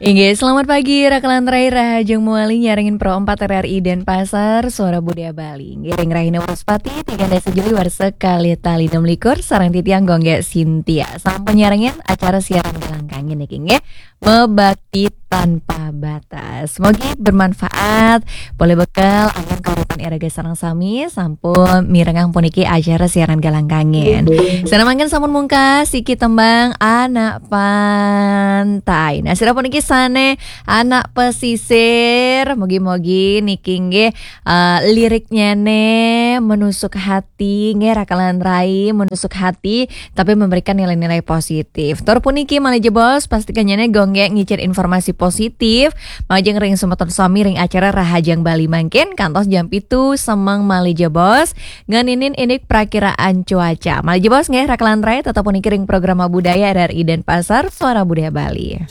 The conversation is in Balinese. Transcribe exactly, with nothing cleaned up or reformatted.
Inggih, selamat pagi, Rakalan Rai, Rahajeng Muali, nyarengin Pro empat R R I Denpasar, Suara Budaya Bali. Inggih, ring rahina Wraspati, tiga dasa Juli warsa kalih tali enam likur, sareng titiang Gonggek Sintia. Sampun nyarengin acara siaran Galangkangin niki, inggih. Mebakti tanpa batas. Mogi bermanfaat, polih bekel, anggén kauripan iraga sareng sami, sampun mirengang puniki acara siaran Galangkangin. Sané mangkin sampun mungkas, siki tembang Anak Pantai. Nah, sira puniki sané anak pesisir, mogi-mogi niki inggih, eh, liriknyané menusuk hati, nggih, Rakalan Rai, menusuk hati, tapi memberikan nilai-nilai positif. Tur puniki malih jebos, pastikannyané Gonggek ngicén informasi positif, majeng ring semeton sami ring acara Rahajeng Bali mangkin, kantos jam pitu semeng malih jebos, ngeninin indik prakiraan cuaca. Malih jebos nggih, Rakalan Rai, tetep puniki ring Programa Budaya R R I Denpasar, Suara Budaya Bali.